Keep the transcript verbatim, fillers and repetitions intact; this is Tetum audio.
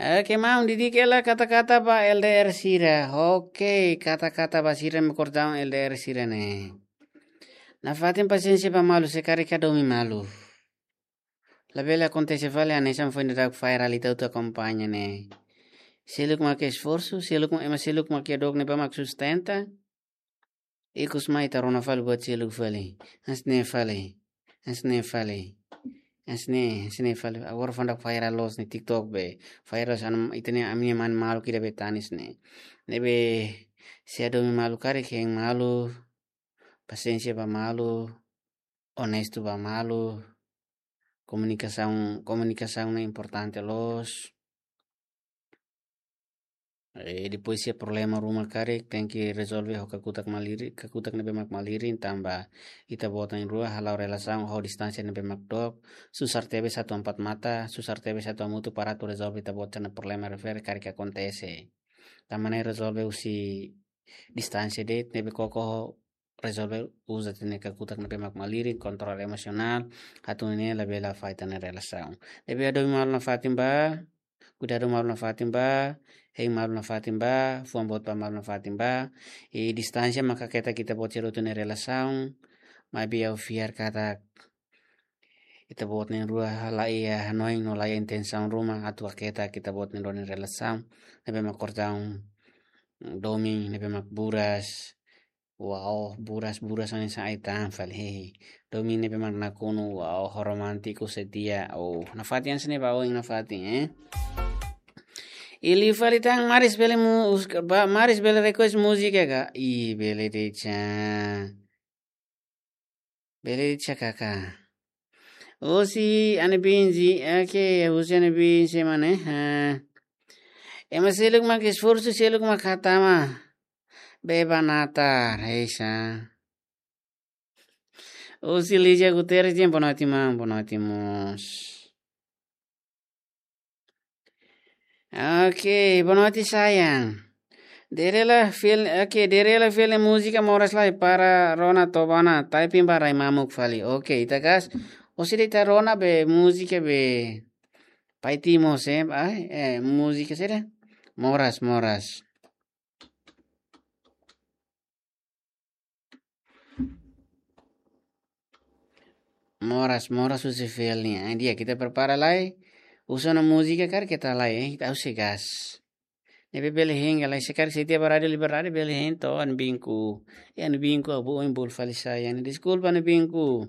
Oke, maun, didik hela kata-kata ba L D R sira. Oke, kata-kata ba sira mak kordaun L D R sira ne'e. Nafatin pasiénsia ba malu, se karik hadomi malu. Labele akontese fali hanesan foin daudauk viral ita hotu akompaña ne'e. Seluk mak esforsu, seluk mak, ema seluk mak iha dook ne'ebé mak sustenta. Ikus mai ita rona fali buat seluk fali. Hanesan ne'e fali. Hanesan ne'e fali. Hanesan ne'e, hanesan ne'e fali. Agora foin daudauk viral loos iha TikTok be. Viral hanesan ita-nia, ami-nia mane maluk ida be tanis ne'e. Ne'ebé se hadomi malu karik hein malu. Pasiénsia ba malu. Onestu ba malu. Komunikasaun, komunikasaun ne'e importante loos. Eh, depois se problema ruma karik, tenke rezolve ho kakutak malirin, kakutak ne'ebé mak malirin, tanba ita-boot na'in-rua hala'o relasaun ho distánsia ne'ebé mak dook, susar tebes atu empat mata, susar tebes atu hamutuk para atu rezolve ita-boot sira-nia problema refere karik akontese. Tanba ne'e rezolve husi distánsia de'it, ne'ebé koko ho rezolve uza ita-nia kakutak ne'ebé mak malirin, kontrola emosionál, atu nune'e labele afeta ita-nia relasaun. Ne'ebé hadomi malu nafatin ba, kuidadu malu nafatin ba, hein malu nafatin ba, fuan boot ba malu nafatin ba, i distánsia maka haketak ita-boot sira hotu nia relasaun, maibé ha'u fiar katak ita-boot na'in-rua la iha hanoin no la iha intensaun ruma atu haketak ita-boot na'in-rua nia relasaun, ne'ebé mak kordaun domin, ne'ebé mak buras, wow, buras, buras hanesan ai-tan fali, hehe. Domin ne'ebé mak nakonu, wow, ho romántiku setia, oh, nafatin hanesan ne'e ba oin nafatin, eh. I liu fali tan Maris bele mu-, us-, ba, Maris bele request múzika ka? Ih, bele de'it sa. Bele de'it sa kaka. Husi Anebinzi, oke, husi Anebinzi mana, ha. Ema seluk mak esforsu, seluk mak hatama. Beba natar, heisa. Husi Lígia Guterres, boa noite, maun, boa noite, mós. Oke, boa noite, sayang. Dere hela feel, oke, dere hela feel múzika moras lai para rona tobana, typing ba rai mamuk fali. Oke, ita gas. Osi de ita rona be múzika be Pai Timo se, ai, eh, múzika sira. Moras, moras. Moras, moras husi feel nian. Di'ak, ita prepara lai. Uza ona múzika karik ita halai, eh. Ita husi gas. Ne'ebé bele hein, lai se karik se ita ba Rádiu Liberdade bele hein to'o Anebinku. Eh, Anebinku, ha'u boot ohin bolu fali sayang. Deskulpa, Anebinku.